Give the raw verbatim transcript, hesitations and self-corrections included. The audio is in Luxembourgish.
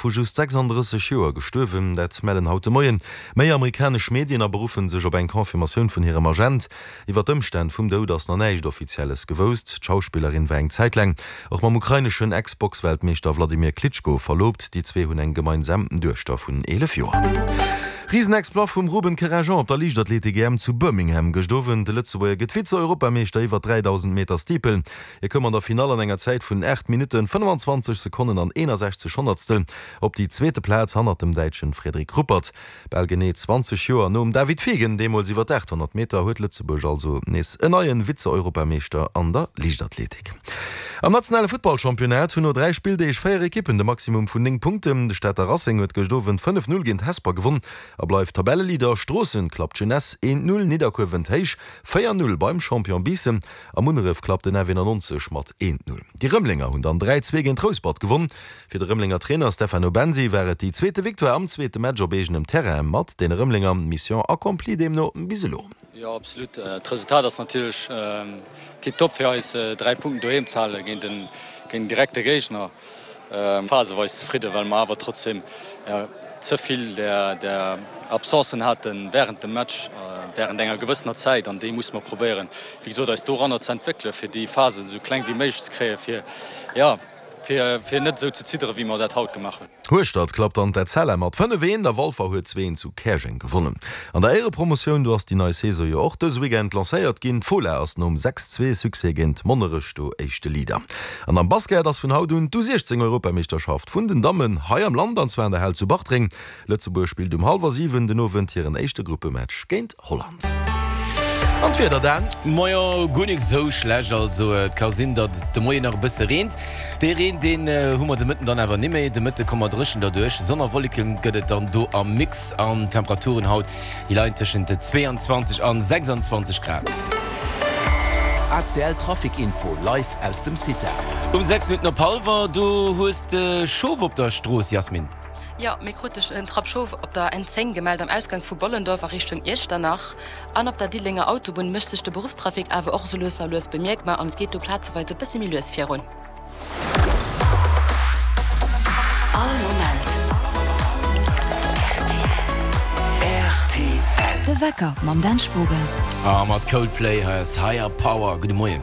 Vu just sechsanddrësseg Joer gestuerwen. Dat mellen haut de Moien méi amerikanesch Medien a beruffe sech op eng Confirmatioun vun hirem Agent. Iwwer d'Ëmstänn vum Doud ass nach näischt Offizielles gewousst. D'Schauspillerin war eng Zäit laang och mam ukraineschen Ex-Boxweltmeeschter Wladimir Klitschko verloobt. Déi zwee hunn eng gemeinsam Duechter vun eelef Joer. Risenexploit vum Ruben Kerenjean op der Liichtathletik-E M zu Birmingham gëscht Owend. De Lëtzebuerger gëtt Vize-Europameeschter iwwer dräidausend Meter Steeple. Hie koum an der Finall an enger Zäit vun aacht Minutten, fënnefenzwanzeg Sekonnen an eenasechzeg Honnertstel op déi zweete Plaz hannert dem Däitschen Frederik Ruppert. Bal genee zwanzeg Joer nom David Fiegen, deemools iwwer d'aathonnert Meter, huet Lëtzebuerg also nees en neie Vize-Europameeschter an der Liichtathletik. Am nationale Futtballchampionnat hunn no dräi Spilldeeg véier Ekippen de Maximum vun néng Punkten. De Stater Racing huet gëscht Owend fënnef Null géint Hesper gewonn a bleift Tabelleleader. Stroossen klappt d'Jeunesse een Null, Nidderkuer wënnt héich véier Null beim Champion Biissen a Munneref klappt den F eenannonzeg mat een Null. Déi Rëmelenger hunn dann dräi Zwee géint Rouspert gewonn. Fir de Rëmelenger Trainer Stefano Bensi war et déi zweete Victoire am zweete Match op eegenem Terrain mat deene Rëmelenger. Mission accomplie deemno bis elo. Jo, absolut. D'Resultat ass natierlech tiptop fir eis, dräi Punkten doheem ze hale géint en direkte Géigner. Phaseweis zefridden, well mer awer trotzdeem ze vill där Absencen hate wärend dem Match, wärend enger gewëssener Zäit. An déi musse mer probéieren, wéi gesot, eis doranner ze entwéckelen, fir déi Phasen esou kleng wéi méiglech ze kréien, fir, jo, fir net esou ze zidderen, wéi mer dat haut gemaach hunn. Hueschtert klappt an d'Etzella mat fënnef eent a Walfer huet zwee eent zu Käerjeng gewonnen. An der Éierepromotioun, do ass déi nei Saison jo och dëse Weekend lancéiert ginn. D'Fola ass nom sechs zwee Succès géint Monnerech do éischte Leader. An am Basket ass vun haut un d'U siechzéng Europameeschterschaft vun den Dammen hei am Land, an zwar an der Hal zu Bartreng. Lëtzebuerg spillt um hallwer siwen den Owend hiren éischte Gruppematch géint Holland. An d'Wieder Dan? Majo, guer nik sou schlecht. Also et ka sinn, datt et de Moien nach e bësse reent. Dee Reen, deen hu mer de Mëtten dann awer nimméi. De Mëtte komme mer dréchen derduerch. Sonn a Wolleke gëtt et dann do am Mix an d'Temperaturen haut, déi leien tëschent zweeanzwanzeg an sechsandzwanzeg Grad. A C L Trafic Info live aus dem Cita. Um sechs Minutten op hallwer, do hues de Schof op der Strooss, Jasmin. Jo, mir krute en Trapp Schof op der N zéng gemellt am Ausgang vu Bollendorf a Richtung Iechternach. An op der Diddelenger Autobunn mécht sech de Beruffstrafic awer och esou lues a lues bemierkbar an et geet do plazeweis e bëssi méi lues virun. All Moment R T L. De Wecker mam Dan Spogen. A mat Coldplay, hei ass Higher Power. Gudde Moien.